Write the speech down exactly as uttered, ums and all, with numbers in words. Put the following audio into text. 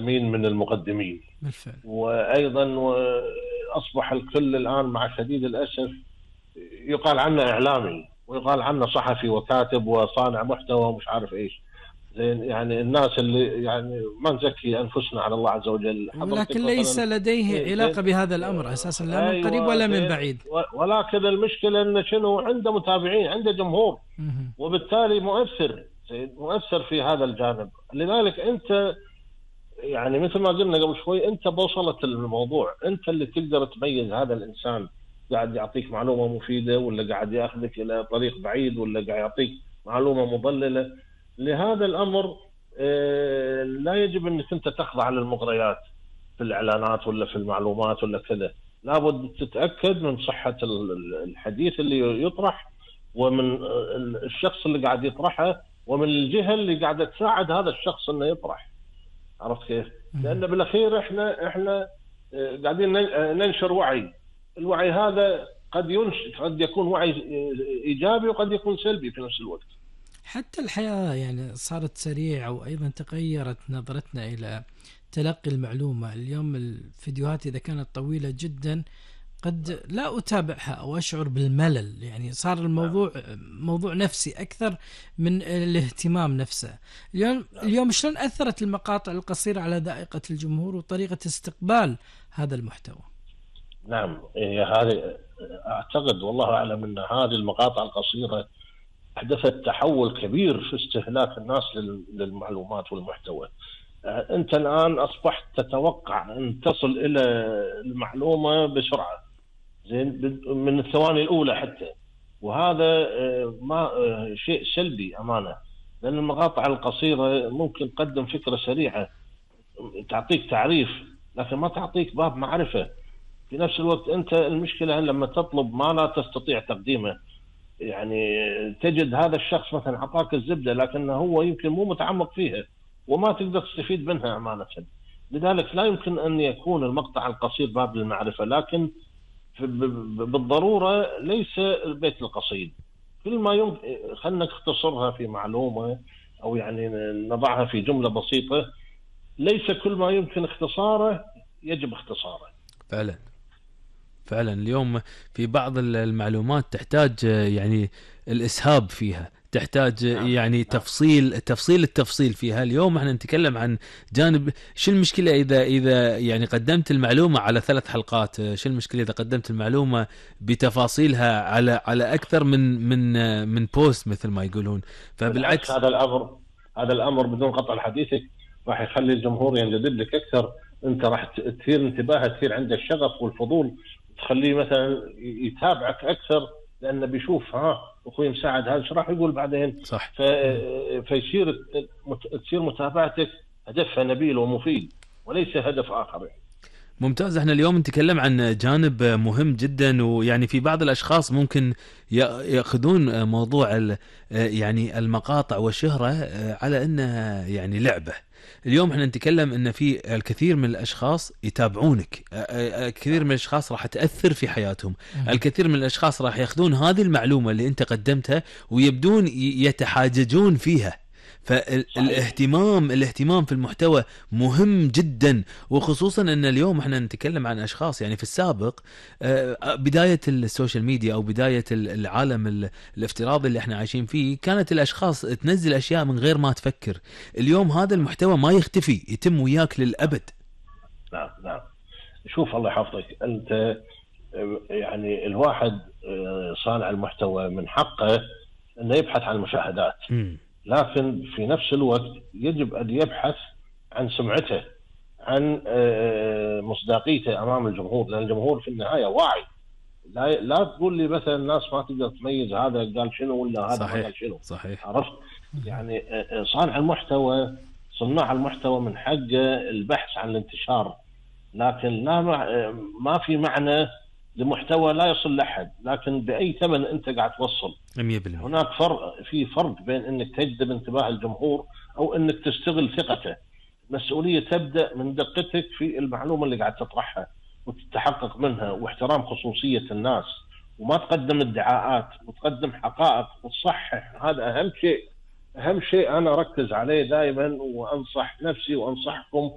مين من المقدمين. بالفعل. وأيضا أصبح الكل الآن مع شديد الأسف يقال عنه إعلامي ويقال عنه صحفي وكاتب وصانع محتوى ومش عارف إيش. زين يعني الناس اللي يعني ما نزكي أنفسنا على الله عز وجل. ولكن ليس لديه علاقة بهذا الأمر أساسا، لا من قريب ولا من بعيد. ولكن المشكلة أنه شنو عنده متابعين، عنده جمهور، وبالتالي مؤثر مؤثر في هذا الجانب. لذلك أنت يعني مثل ما قلنا قبل شوي، أنت بوصلت الموضوع، أنت اللي تقدر تميز هذا الإنسان قاعد يعطيك معلومة مفيدة ولا قاعد يأخذك إلى طريق بعيد ولا قاعد يعطيك معلومة مضللة. لهذا الأمر لا يجب أنك أنت تخضع للمغريات في الإعلانات ولا في المعلومات ولا كذا. لابد تتأكد من صحة الحديث اللي يطرح ومن الشخص اللي قاعد يطرحه ومن الجهة اللي قاعدة تساعد هذا الشخص أنه يطرح. عرفت كيف؟ لأن بالأخير إحنا إحنا قاعدين ننشر وعي. الوعي هذا قد ينشر، قد يكون وعي إيجابي وقد يكون سلبي في نفس الوقت. حتى الحياة يعني صارت سريعة، وأيضا تغيرت نظرتنا إلى تلقي المعلومة. اليوم الفيديوهات إذا كانت طويلة جدا قد لا أتابعها أو أشعر بالملل. يعني صار الموضوع موضوع نفسي أكثر من الاهتمام نفسه. اليوم اليوم شلون أثرت المقاطع القصيرة على ذائقة الجمهور وطريقة استقبال هذا المحتوى؟ نعم، هذه أعتقد والله أعلم أن هذه المقاطع القصيرة أحدثت تحول كبير في استهلاك الناس للمعلومات والمحتوى. أنت الآن أصبحت تتوقع أن تصل إلى المعلومة بسرعة، زين من الثواني الأولى حتى، وهذا ما شيء سلبي أمانة. لأن المقاطع القصيرة ممكن تقدم فكرة سريعة تعطيك تعريف لكن ما تعطيك باب معرفة. في نفس الوقت أنت المشكلة لما تطلب ما لا تستطيع تقديمه، يعني تجد هذا الشخص مثلا أعطاك الزبدة لكنه هو يمكن مو متعمق فيها وما تقدر تستفيد منها أمانة. لذلك لا يمكن أن يكون المقطع القصير باب للمعرفة، لكن بالضرورة ليس البيت القصيد. كل ما يمكن خلنا نختصرها في معلومة أو يعني نضعها في جملة بسيطة، ليس كل ما يمكن اختصاره يجب اختصاره. فعلا فعلا اليوم في بعض المعلومات تحتاج يعني الإسهاب فيها، تحتاج يعني تفصيل تفصيل التفصيل فيها. اليوم احنا نتكلم عن جانب. شو المشكلة إذا إذا يعني قدمت المعلومة على ثلاث حلقات؟ شو المشكلة إذا قدمت المعلومة بتفاصيلها على على أكثر من من من بوست مثل ما يقولون؟ فبالعكس هذا الأمر هذا الأمر بدون قطع حديثك راح يخلي الجمهور ينجذب لك أكثر. أنت راح تثير انتباهه، تثير عنده الشغف والفضول، تخليه مثلا يتابعك أكثر لأنه بيشوف ها أخوي مساعد هذا شو راح يقول بعدين. صح. ف... فيصير تصير متابعتك هدفها نبيل ومفيد وليس هدف آخر. ممتاز. احنا اليوم نتكلم عن جانب مهم جدا، ويعني في بعض الاشخاص ممكن ياخذون موضوع يعني المقاطع والشهرة على انها يعني لعبة. اليوم احنا نتكلم ان في الكثير من الاشخاص يتابعونك، الكثير من الاشخاص راح تأثر في حياتهم، الكثير من الاشخاص راح ياخذون هذه المعلومة اللي انت قدمتها ويبدون يتحاججون فيها. فالاهتمام الاهتمام في المحتوى مهم جدا، وخصوصا ان اليوم احنا نتكلم عن اشخاص يعني في السابق بداية السوشيال ميديا او بداية العالم الافتراضي اللي احنا عايشين فيه كانت الاشخاص تنزل اشياء من غير ما تفكر. اليوم هذا المحتوى ما يختفي، يتم وياك للابد. نعم نعم. شوف الله يحفظك، انت يعني الواحد صانع المحتوى من حقه انه يبحث عن المشاهدات، م. لكن في نفس الوقت يجب أن يبحث عن سمعته، عن مصداقيته أمام الجمهور، لأن الجمهور في النهاية واعي. لا لا تقول لي مثلا الناس ما تقدر تميز هذا قال شنو ولا هذا صحيح. قال شنو. صحيح. عرفت يعني صانع المحتوى صناع المحتوى من حقه البحث عن الانتشار، لكن لا ما في معنى لمحتوى لا يصل لأحد لكن بأي ثمن أنت قاعد توصل. مية بالمية. هناك فرق، في فرق بين أنك تجذب انتباه الجمهور أو أنك تستغل ثقته. المسؤولية تبدأ من دقتك في المعلومة اللي قاعد تطرحها وتتحقق منها، واحترام خصوصية الناس، وما تقدم ادعاءات وتقدم حقائق وتصحح. هذا أهم شيء. أهم شيء أنا أركز عليه دائما وأنصح نفسي وأنصحكم